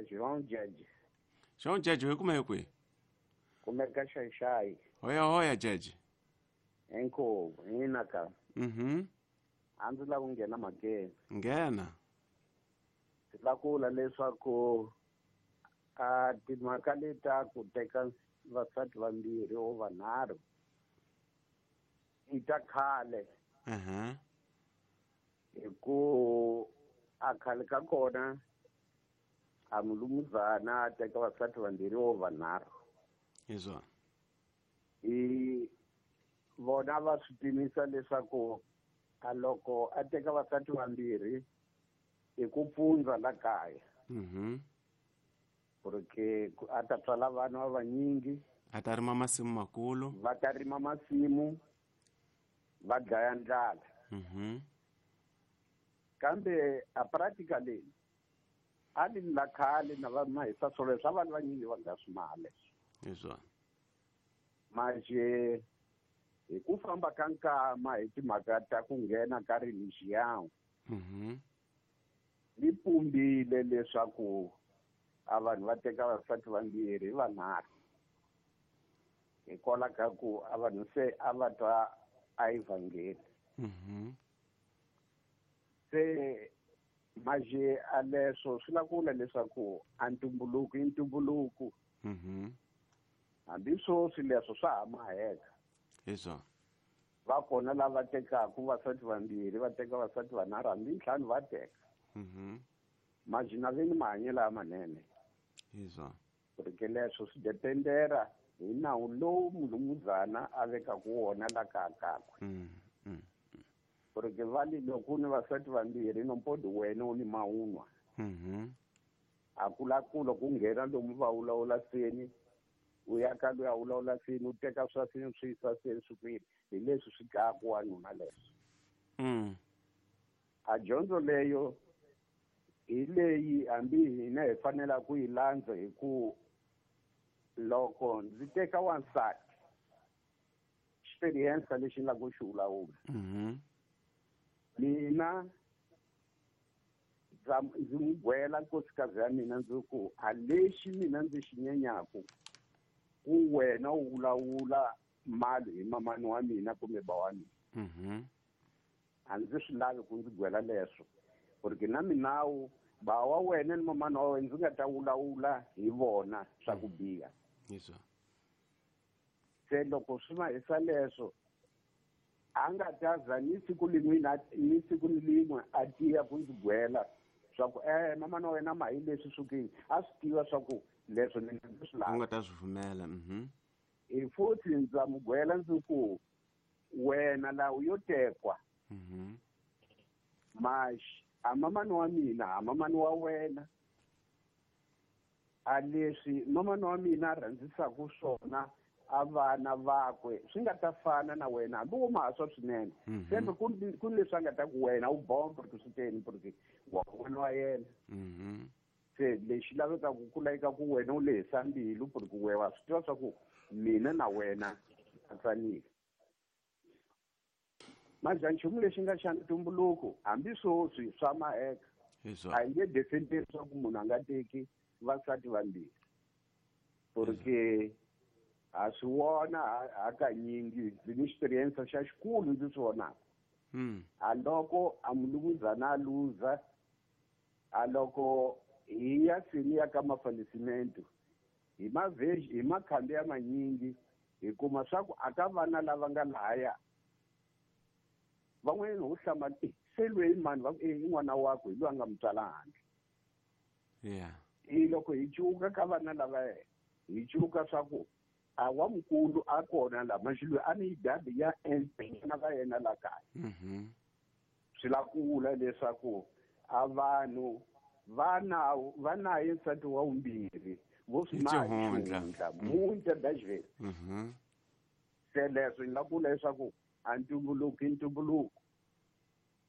João Jeje. João Jeje hi kume hi kwihi? Kumeka Xaixai. Hoya hoya Jeje. Inkomu hina ka. A ndzi lava ku nghena mhakeni. Nghena. Ndzi lava ku vula leswaku a timhaka leta ku teka vasati vambirhi o vanharhu i ta khale. Hi ku a khale ka kona a mulumuzana a teka vasati vambirhi o vanharhu. Hi swona. Hi vona va swi pimisa leswaku a loko a teka vasati vambirhi i ku pfundza la kaya. Porque a ta tswala vana va vanyingi. A ta rima masimu makulu. Va ta rima masimu va dlaya ndlala. Kambe a practically a li la khale na va mahisa swolo swa vanhu vanyingi va nga swi mali. Hi swona. Manje hi ku famba ka nkama hi timhaka ta ku nghena ka religion. Li pumbile leswaku a vanhu va teka vasati vambirhi vanharhu. Hikwalaho ka ku a vanhu se a va twa a evhangeli. Se manje a leswo swi lava ku vula leswaku a ntumbuluko i ntumbuluko. Hambi sweswi leswo swa ha maheka. Hi swona. Va kona lava tekaka vasati vambirhi, va teka vasati vanharhu, hambi ntlhanu va teka. Manje na veni mahanyelo lamanene. Hi swona. Porque leswo swi dependera hi nawu lowu mulumuzana a vekaka wona la kaya kakwe. Porque va li loko u ni vasati vambirhi nompodi wena u ni mawunwa. A ku la ku loko u nghena lomu va vulavula seni, u ya ka luya vulavula seni, u teka swa seni swi yisa seni swi kwini, hi leswi swi dlayaka wanuna leswo. A dyondzo leyo hi leyi hambi hina hi fanelaka ku yi landza hi ku loko ndzi teka wansati experience lexi ni lava ku xi vulavula. Mina ndzi n'wi gwela nkosikazi ya mina ndzi ku a lexi mina ndzi xi nyenyaku ku wena u vulavula mali hi mamani wa mina kumbe ba wa mina. A ndzi swi lavi ku ndzi gwela leswo. Porque na minawu ba wa wena ni mamani wa wena ndzi nga ta vulavula hi vona swa ku biha. Se loko swi mahisa leswo a nga ta za ni siku lin'we na ni siku lin'we a tiya ku ndzi gwela swa ku mamani wa wena ma hi leswi swi a swi tiva swa ku leswo ni ndzi swi lava. U nga ta swi pfumela. Hi futhi ndza mu gwela ndzi ku wena laha u yo tekwa. Maxi a mamani wa mina a mamani wa wena a leswi mamani wa mina a rhandzisaka swona a vana vakwe swi nga ta fana na wena hambi wo mahaswa swinene. Sembe ku leswi a nga ta ku wena u bomba porque swi teni porque wa vona wa yena. Se lexi lavekaka ku laveka ku wena u lehisa mbilu porque we wa swi tiva swa ku mina na wena a tsanile. Manje nchumu lexi nga xa ntumbuluko hambi sweswi swa maheka. A hi nge defenderi swa ku munhu a nga teki vasati vambirhi. Porque ha swi vona hakanyingi ndzi ni experience xa xikulu ndzi swi vonaka. A loko a mulumuzana a luza, a loko hi ya seni ya ka mafalisimento, hi hi makhambi ya manyingi hi kuma swa ku a ka vana lava nga lahaya van'wanyana ho hlamala, se loyi mani va ku, i n'wana wakwe, hi loyi a nga mu tswala handle. I loko hi cuka ka vana lava hi cuka swa ku a wa mukulu a kona la maxi loyi a ni dabi ya na va yena la kaya. Swi la ku vula leswaku a vanhu va naye nsati wa vumbirhi vo swi Hi xihundla. mahundla muta dashville. Se leswi ni la ku vula leswaku a ntumbuluko i ntumbuluko.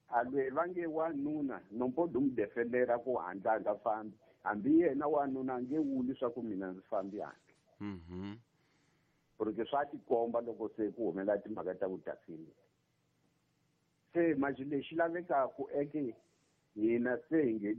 A loyi va nge wanuna nompodo mu defendera ku handla a nga fambi, hambi yena wanuna a nge vuli swa ku mina ndzi fambi handle. Porque swa tikomba loko se ku humelela timhaka ta vutasini. Se manje lexi lavekaka eke hina se hi nghenile